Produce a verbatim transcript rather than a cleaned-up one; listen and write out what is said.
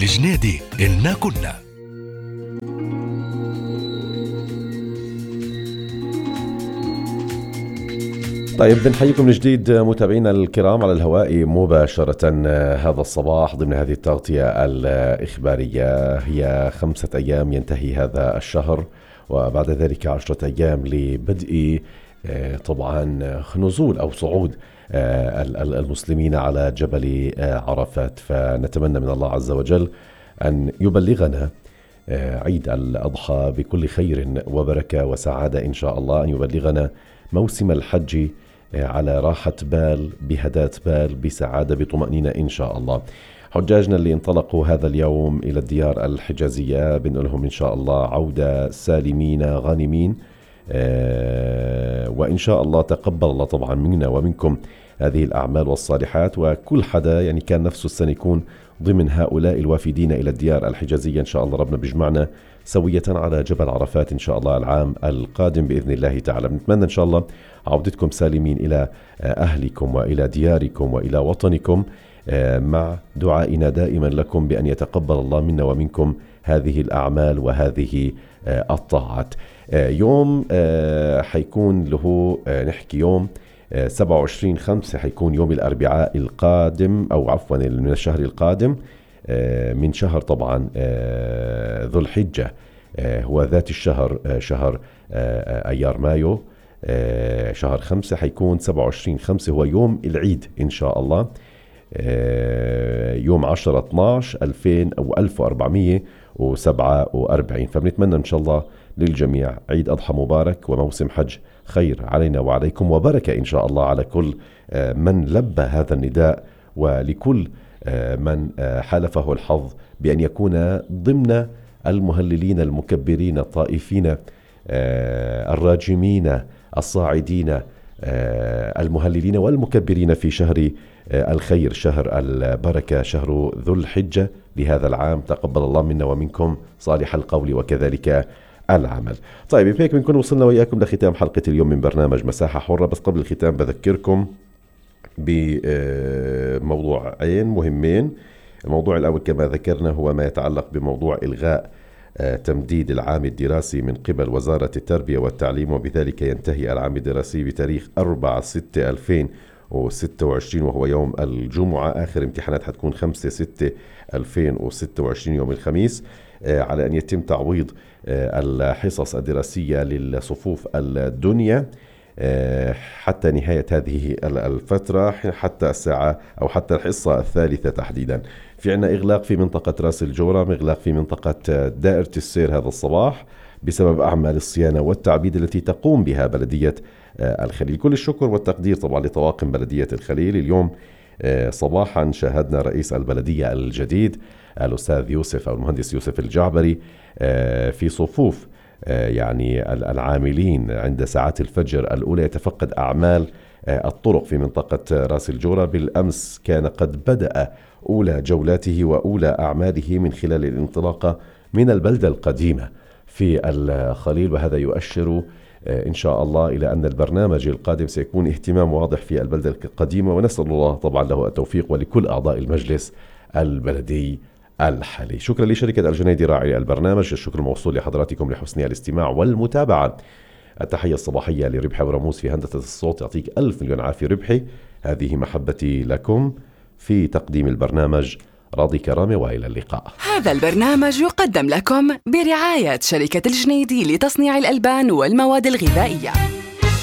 الجنيدي إلنا كنا. طيب بنحييكم من جديد متابعينا الكرام على الهواء مباشرة هذا الصباح ضمن هذه التغطية الإخبارية. هي خمسة أيام ينتهي هذا الشهر، وبعد ذلك عشرة أيام لبدء طبعا نزول أو صعود المسلمين على جبل عرفات. فنتمنى من الله عز وجل أن يبلغنا عيد الأضحى بكل خير وبركة وسعادة إن شاء الله، أن يبلغنا موسم الحج على راحة بال، بهداة بال، بسعادة، بطمأنينة إن شاء الله. حجاجنا اللي انطلقوا هذا اليوم إلى الديار الحجازية بنقولهم إن شاء الله عودة سالمين غانمين، آه وإن شاء الله تقبل الله طبعا منا ومنكم هذه الأعمال والصالحات. وكل حدا يعني كان نفسه السنة يكون ضمن هؤلاء الوافدين إلى الديار الحجازية إن شاء الله ربنا بيجمعنا سوية على جبل عرفات إن شاء الله العام القادم بإذن الله تعالى. بنتمنى إن شاء الله عودتكم سالمين إلى أهلكم وإلى دياركم وإلى وطنكم، مع دعائنا دائما لكم بأن يتقبل الله منا ومنكم هذه الأعمال وهذه الطاعات. يوم حيكون له نحكي يوم سبعة وعشرين خمسة، حيكون يوم الأربعاء القادم أو عفوا من الشهر القادم من شهر طبعا ذو الحجة، هو ذات الشهر شهر أيار مايو. شهر خمسة حيكون سبعة وعشرين خمسة هو يوم العيد إن شاء الله، يوم عشرة اثناشر ألفين أو ألف وأربعمية وسبعة وأربعين. فبنتمنى إن شاء الله للجميع عيد أضحى مبارك وموسم حج خير علينا وعليكم وبركة إن شاء الله على كل من لبى هذا النداء، ولكل من حالفه الحظ بأن يكون ضمن المهللين المكبرين الطائفين الراجمين الصاعدين المهللين والمكبرين في شهر الخير، شهر البركة، شهر ذو الحجة لهذا العام. تقبل الله منا ومنكم صالح القول وكذلك العمل. طيب بهيك بنكون وصلنا وإياكم لختام حلقة اليوم من برنامج مساحة حرة. بس قبل الختام بذكركم بموضوعين مهمين. الموضوع الأول كما ذكرنا هو ما يتعلق بموضوع إلغاء تمديد العام الدراسي من قبل وزارة التربية والتعليم، وبذلك ينتهي العام الدراسي بتاريخ أربعة ستة ألفين وستة وعشرين وهو يوم الجمعة. آخر امتحانات حتكون خمسة ستة ألفين وستة وعشرين يوم الخميس، على أن يتم تعويض الحصص الدراسية للصفوف الدنيا حتى نهاية هذه الفترة، حتى الساعة أو حتى الحصة الثالثة تحديدا. في عنا إغلاق في منطقة راس الجورة، إغلاق في منطقة دائرة السير هذا الصباح بسبب أعمال الصيانة والتعبيد التي تقوم بها بلدية الخليل. كل الشكر والتقدير طبعا لطواقم بلدية الخليل. اليوم صباحا شاهدنا رئيس البلدية الجديد الأستاذ يوسف أو المهندس يوسف الجعبري في صفوف يعني العاملين عند ساعات الفجر الأولى يتفقد أعمال الطرق في منطقة راس الجورة. بالأمس كان قد بدأ أولى جولاته وأولى أعماله من خلال الانطلاقة من البلدة القديمة في الخليل، وهذا يؤشر إن شاء الله إلى أن البرنامج القادم سيكون اهتمام واضح في البلدة القديمة، ونسأل الله طبعا له التوفيق ولكل أعضاء المجلس البلدي الحالي. شكرا لشركة الجنيدي راعي البرنامج، الشكر الموصول لحضراتكم لحسن الاستماع والمتابعة. التحية الصباحية لربحي ورموز في هندسة الصوت، يعطيك ألف مليون عافية ربحي. هذه محبتي لكم في تقديم البرنامج، راضي كرامة، وإلى اللقاء. هذا البرنامج يقدم لكم برعاية شركة الجنيدي لتصنيع الألبان والمواد الغذائية.